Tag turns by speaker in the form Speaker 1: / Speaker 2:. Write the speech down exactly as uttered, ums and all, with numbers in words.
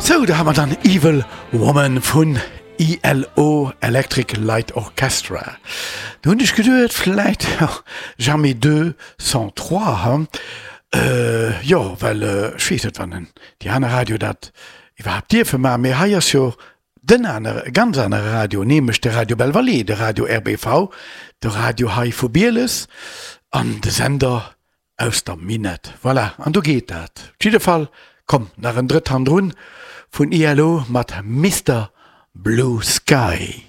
Speaker 1: Sou, da hu mer dann Evil Woman vun ELO, Electric Light Orchestra. Do hunn ech geduet, vläit jamais deux sans trois, hu? Jo, well ech weess net, wann déi aner Radio dat iwwerhaapt dierfe maachen, mee hei ass jo den anere, e ganz anere Radio, nämlech de Radio Belval, de Radio RBV, de Radio hei vu Bieles an de Sender aus der Minett. Voilà, an do geet dat. Op jidde Fall, komm, nach en drëtt hannendrun vun ELO mat Mister Blue Sky.